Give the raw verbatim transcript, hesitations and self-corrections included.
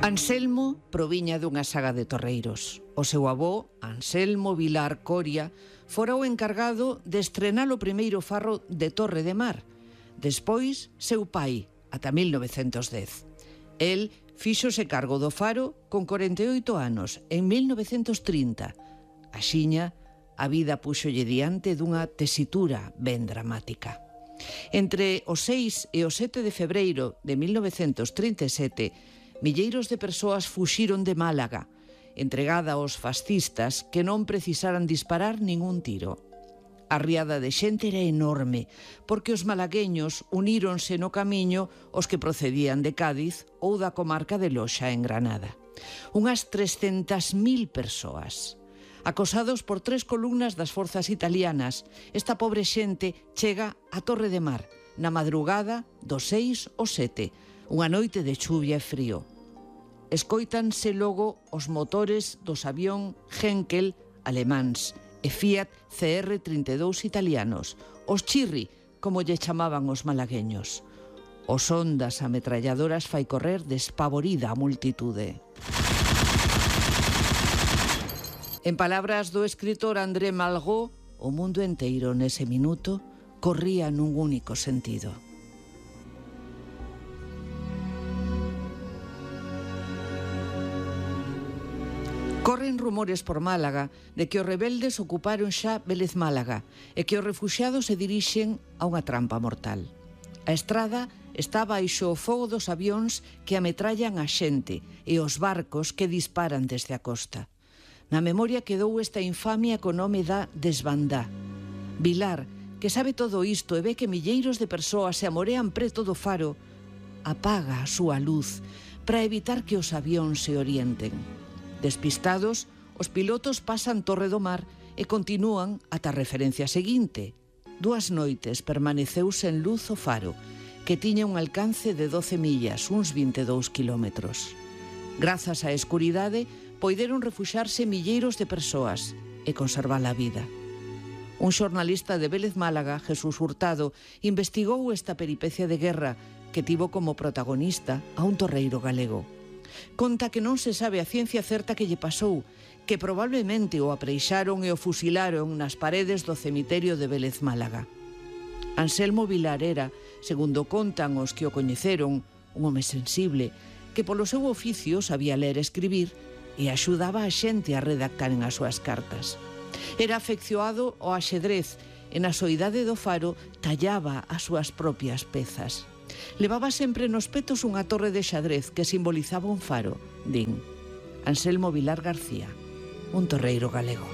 Anselmo proviña dunha saga de torreiros. O seu avó, Anselmo Vilar Coria, fora o encargado de estrenar o primeiro farro de Torre de Mar. Despois, seu pai, ata mil novecentos dez. El fíxose cargo do faro con corenta e oito anos, en mil novecentos trinta. Axiña, a vida púxolle diante dunha tesitura ben dramática. Entre o seis e o sete de febreiro de mil novecentos trinta e sete, milleiros de persoas fuxiron de Málaga, entregada aos fascistas que non precisaran disparar ningún tiro. A riada de xente era enorme, porque os malagueños uníronse no camiño os que procedían de Cádiz ou da comarca de Loxa en Granada. Unhas trescentas mil persoas. Acosados por tres columnas das forzas italianas, esta pobre xente chega a Torre de Mar, na madrugada do seis ao sete, unha noite de chuvia e frío. Escóitanse logo os motores dos avión Henkel alemáns e Fiat C R trinta e dous italianos, os Chirri, como lle chamaban os malagueños. O son das ametralladoras fai correr despavorida a multitude. En palabras do escritor André Malraux, o mundo enteiro nese minuto corría nun único sentido. Corren rumores por Málaga de que os rebeldes ocuparon xa Vélez Málaga e que os refuxiados se dirixen a unha trampa mortal. A estrada está baixo o fogo dos avións que ametrallan a xente e os barcos que disparan desde a costa. Na memoria quedou esta infamia co nome da Desbandá. Vilar, que sabe todo isto e ve que milleiros de persoas se amorean preto do faro, apaga a súa luz para evitar que os avións se orienten. Despistados, os pilotos pasan Torre do Mar e continúan ata a referencia seguinte. Dúas noites permaneceu sen luz o faro, que tiña un alcance de doce millas, uns vinte e dous kilómetros. Grazas á escuridade, poideron refuxarse milleiros de persoas e conservar a vida. Un xornalista de Vélez Málaga, Jesús Hurtado, investigou esta peripecia de guerra que tivo como protagonista a un torreiro galego. Conta que non se sabe a ciencia certa que lle pasou, que probablemente o apreixaron e o fusilaron nas paredes do cemiterio de Vélez Málaga. Anselmo Vilar era, segundo contan os que o coñeceron, un home sensible, que polo seu oficio sabía ler e escribir e axudaba a xente a redactar en as súas cartas. Era afeccionado ao axedrez e na soidade do faro tallaba as súas propias pezas. Levaba sempre nos petos unha torre de xadrez que simbolizaba un faro, din. Anselmo Vilar García, un torreiro galego.